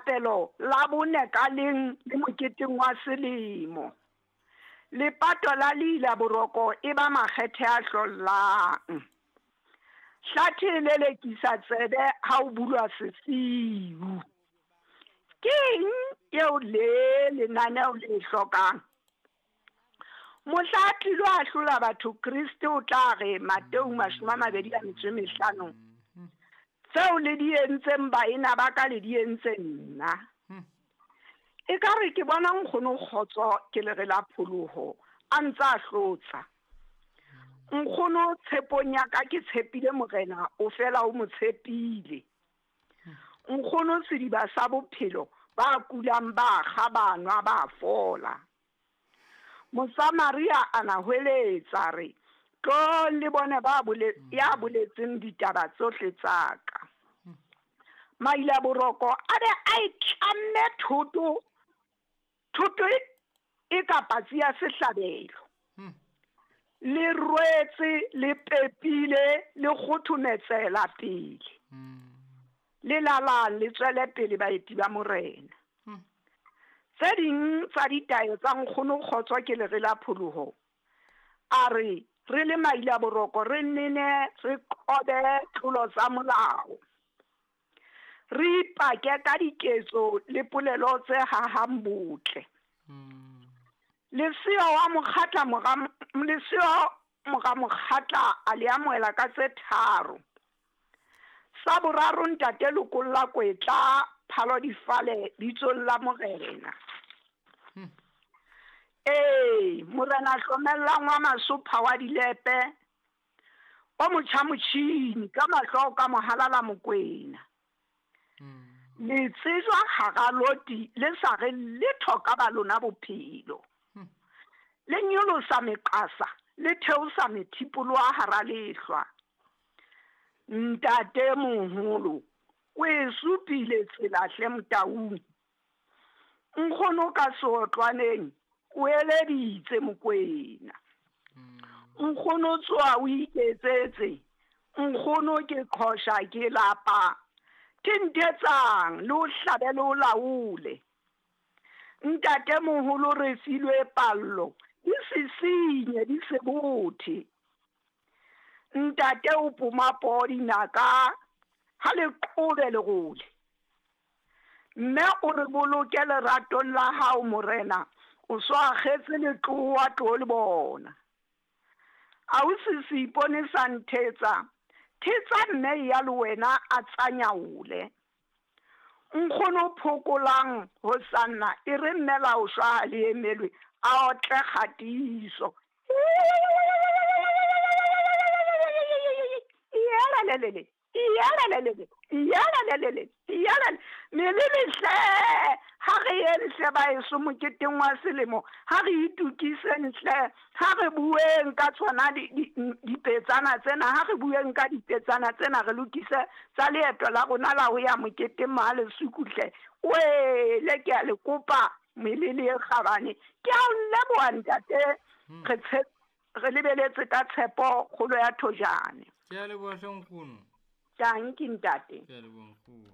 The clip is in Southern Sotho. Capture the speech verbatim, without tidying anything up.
thapelo la bone ka leng le moketeng wa selemo. Lepato la leila boroko e ba makgethe a hlollang. Hlathe e lelekisa tsebe ha o bulwa sesiu. Ke eng eo le lenaneo le hlokang? Mohla a tlilo ahlola batho Kriste o tla re Mateu mashome a mabedi a metso e mehlano. Tseo le di entseng baena ba ka le di entse nna. Ekare ke bona nkgono Kgotso ke le re la pholoho a ntse a hlotsa. Nkgono tshepong ya ka ke tshepile morena o fela o mo tshepile. Nkgono sediba sa bophelo ba kulang ba kga ba nwa ba fola. Mosamaria a na hweletsa re tlo le bone ba bole ya boletseng ditaba tsohle tsa ka. Maila boroko a be a e tlamme thoto, thoto e ka patsi ya sehlabelo. Le rwetse le pepile le kgothometsela pele. Le lala le tswele pele baeti ba morena. Tse ding tsa ditaelo tsa nkgono Kgotso ke lere la pholoho. A re re le maila boroko re nene re qobe tlolo tsa molao. Re ipake ka diketso le polelo tse hahang botle. Lesea wa mokgatla mora lesea mora mokgatla a le amohela ka tse tharo. Sa boraro ntate lokolla kwetla phalo difale bitsong la morena. Ee, morena hlomellang wa masopha wa dilepe o motjha motjhini ka mahlo ka mohalala Mokwena. Le tsejwa hara loti le sa re letho ka ba lona bophelo. Le nyolosa meqasa le theosa methipolo a hara lehlwa. Ntate moholo o e supile tsela hle Motaung. Nkgono ka seotlwaneng o eleditse Mokwena. Nkgono tsoa o iketsetse. Nkgono ke qhosha ke lapa. Thinthetsang le o hlabe le o laole. Ntate moholo re filwe pallo di sisinye di se bothe. Ntate o poma poo dinaka ha le qobe lerole. Mme o re boloke leratong la hao morena, o so akgetse letlowa tlo le bona. Ausi seipone sa nthetsa, thetsa mme ya le wena a tsanyaole. Nkgono phokolang ho sanna e re mme la o shwa ha le emelwe a otle kgatiso. Iyalelelele, iyalelelele, iyalelelele, iyalele. Melele hle, ha re yeng hle baeso moketeng wa selemo, ha re itukiseng hle, ha re bueng ka tsona dipetsana tsena, ha re bueng ka dipetsana tsena, re lokise tsa leeto la rona la ho ya moketeng Mahalesuku hle. Wele ke a le kopa melele e kgabane. Ke a o leboha ntate, re re lebeletse ka tshepo kgolo ya thojane. Ke a leboha hle nkgono. Tanki ntate. Ke a leboha nkgono.